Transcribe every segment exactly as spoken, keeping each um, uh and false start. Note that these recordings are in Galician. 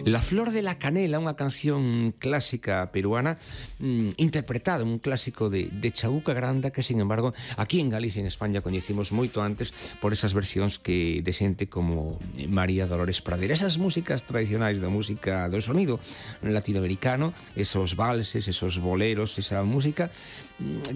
La Flor de la Canela, unha canción clásica peruana mm, interpretada, un clásico de, de Chabuca Granda que, sin embargo, aquí en Galicia, en España, coñecimos moito antes por esas versións que de xente como María Dolores Pradera. Esas músicas tradicionais da música do sonido latinoamericano, esos valses, esos boleros, esa música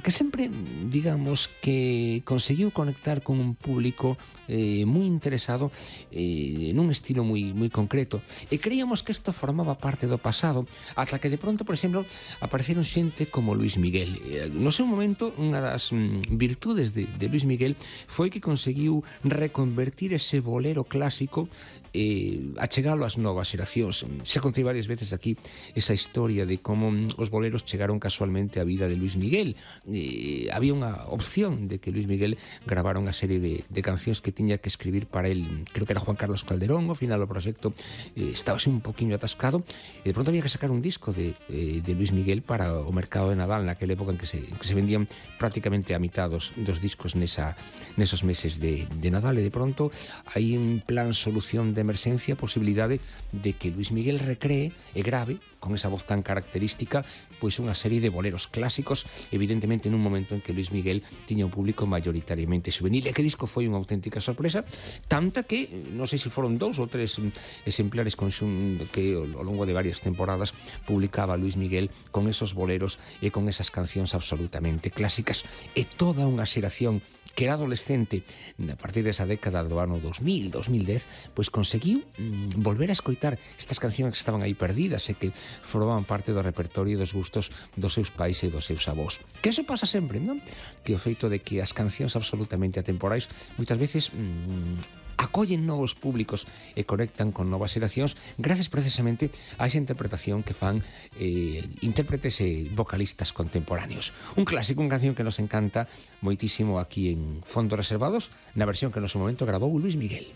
que sempre, digamos, que conseguiu conectar con un público eh, moi interesado eh, nun estilo moi, moi concreto. E creíamos que isto formaba parte do pasado, ata que de pronto, por exemplo, apareceron xente como Luis Miguel. Eh, no seu momento, unha das mm, virtudes de, de Luis Miguel foi que conseguiu reconvertir ese bolero clásico eh, a chegalo ás novas xeracións. Xa contei varias veces aquí esa historia de como mm, os boleros chegaron casualmente á vida de Luis Miguel. Eh, había unha opción de que Luis Miguel grabara unha serie de, de cancións que tiña que escribir para él, creo que era Juan Carlos Calderón. Ao final o proxecto eh, estaba así un poquinho atascado e de pronto había que sacar un disco de, eh, de Luis Miguel para o mercado de Nadal, naquela época en que se, en que se vendían prácticamente a mitad dos, dos discos nesa, nesos meses de, de Nadal, e de pronto hai un plan solución de emerxencia, posibilidade de que Luis Miguel recree e grave con esa voz tan característica pois unha serie de boleros clásicos, evidentemente nun momento en que Luis Miguel tiña un público mayoritariamente juvenil. E que disco foi unha auténtica sorpresa, tanta que non sei se foron dous ou tres exemplares conxun que ao longo de varias temporadas publicaba Luis Miguel con esos boleros e con esas cancións absolutamente clásicas. E toda unha xeración que era adolescente a partir desa década do ano dos mil, dos mil dez, pois conseguiu mm, volver a escoitar estas cancións que estaban aí perdidas e que formaban parte do repertorio e dos gustos dos seus pais e dos seus avós. Que eso pasa sempre, non? Que o feito de que as cancións absolutamente atemporais moitas veces mm, acollen novos públicos e conectan con novas xeracións gracias precisamente a esa interpretación que fan eh, intérpretes e vocalistas contemporáneos. Un clásico, unha canción que nos encanta moitísimo aquí en Fondos Reservados, na versión que no seu momento grabou Luis Miguel.